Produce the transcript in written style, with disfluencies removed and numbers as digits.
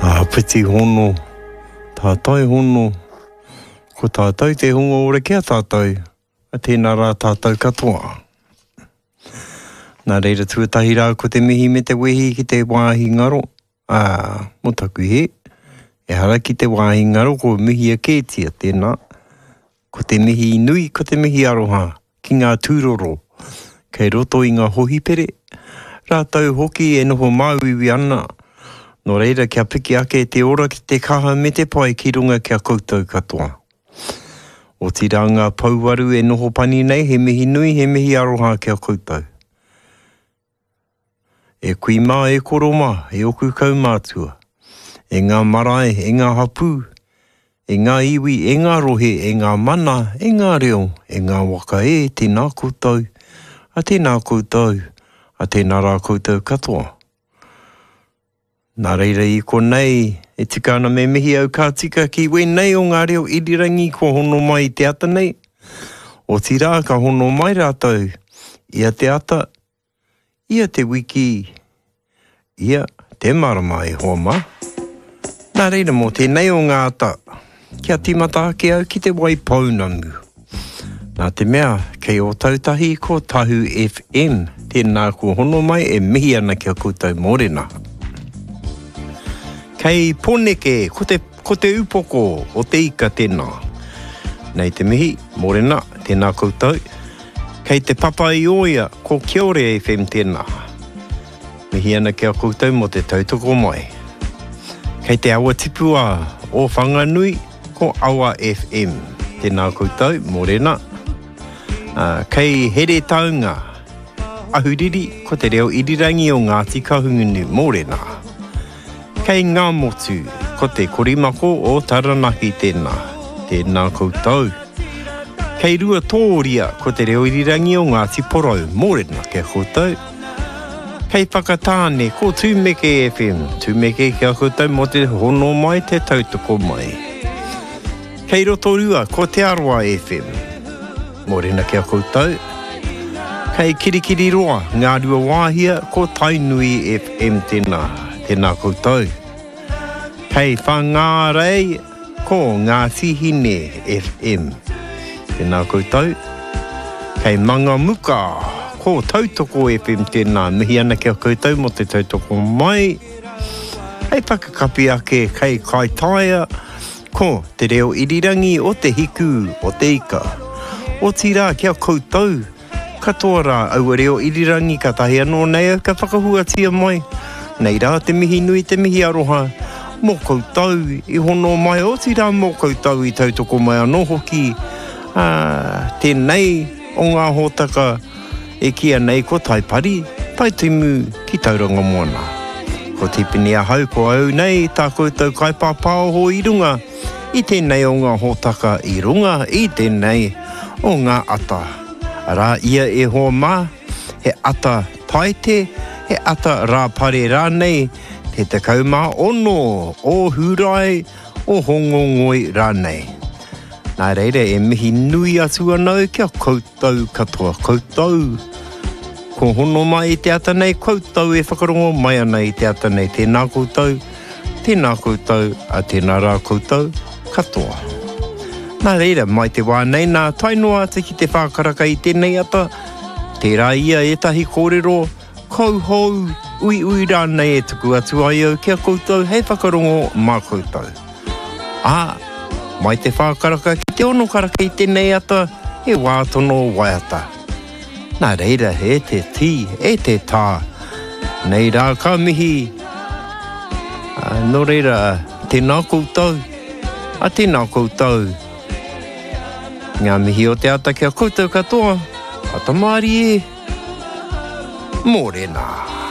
Āpiti hono, tātai hono, ko tātou te hunga ora ki a tātou, a tēnā rā tātou katoa. Nā reira tuatahi rā ko te mihi me te wehi ki te wāhi ngaro, ā, mō taku hē, ehara ki te wāhi ngaro ko mihia kētia tēnā, ko te mihi nui, ko te mihi aroha ki ngā tūroro kei roto i ngā hohipere, rātou hoki e noho māuiui ana, nō reira kia piki ake te ora ki te kaha me te pai ki runga ki a koutou katoa. Otirā ngā pouaru e noho pani nei, he mihi nui, he mihi aroha ki a koutou. E kui mā, e koro mā, e oku kaumātua, e ngā marae, e ngā hapū, e ngā iwi, e ngā rohe, e ngā mana, e ngā reo, e ngā waka e, tēnā koutou, a tēnā koutou, a tēnā rā koutou katoa. Nā reira i konei, e tika ana me mihi au ka tika ki wēnei o ngā reo irirangi kua hono mai i te ata nei. Otirā ka hono mai rātou ia te ata, ia te wiki, ia te marama e hoa mā. Nā reira mō tēnei o ngā ata, kia tīmata ake au ki te Waipounamu. Nā te mea, kei Ōtautahi ko Tahu FM, tēnā kua hono mai e mihi ana ki a koutou mōrena. Kei Pōneke, ko te, ko te upoko o te ika tēnā. Nei te mihi, mōrena, tēnā koutou. Kei Te Papa-i-ōia, ko Kiore FM tēnā. Mihi ana ki a koutou mō te tautoko mai. Kei te awa tipua o Whanganui, ko Awa FM. Tēnā koutou, mōrena. Kei Heretaunga, Ahuriri, ko te reo irirangi o Ngāti Kahungunu, mōrena. Kei Ngāmotu, ko te korimako o Taranaki tēnā. Tēnā koutou. Kei Ruatōria, ko te reo irirangi o Ngāti Porou, mōrena ki a koutou. Kei Whakatāne, ko Tūmeke FM, Tūmeke ki a koutou mō te hono mai, te tautoko mai. Kei Rotorua, ko Te Arawa FM, mōrena ki a koutou. Kei Kirikiriroa, Ngāruawāhia, ko Tainui FM tēnā, tēnā koutou. Kei Whangārei, Ko Ngāti Hine FM. Tēnā koutou. Kei Mangamuka, ko Tautoko FM tēnā. Mihi ana ki a koutou mō te tautoko mai. Hei whakakapi ake kei Kaitaia, ko Te Reo Irirangi o Te Hiku o Te Ika. Otirā ki a koutou Katoa rā aua reo irirangi katahi anō nei au ka whakahuatia mai. Nei rā te mihi nui te mihi aroha mō koutou i hono mai otirā mō koutou i tautoko mai anō hoki, ā, tēnei o ngā hōtaka e kīia nei ko Taipari, Taitimu ki Tauranga Moana. Ko Tipene ahau ko au nei tā koutou kaipāpāoho i runga i tēnei o ngā hōtaka i runga i tēnei o ngā ata. Arā ia e hoa mā, he ata Paete, he ata Rāpare rānei, te 16 o Hūrae, o Hōngongoi rānei. Nā reira e mihi nui atu ana au ki a koutou katoa, koutou ko hono mai i te ata nei, koutou e whakarongo mai ana i te ata nei, tēnā koutou, Tēnā koutou, a tēnā rā koutou katoa. Nā reira, mai te wā nei nā, tae noa atu ki te whākaraka i tēnei ata, tērā ia ētahi kōrero kauhou, uiui rānei e tuku atu ai au ki a koutou hei whakarongo mā koutou. Ā, mai te whākaraka ki te ono karaka i tēnei ata, he wā tono waiata. Nā reira, e te tī, e te tā, nei rā ka mihi, nō reira, tēnā koutou, a tēnā koutou. Ngā mihi o te ata ki a koutou katoa, ata mārie, mōrena.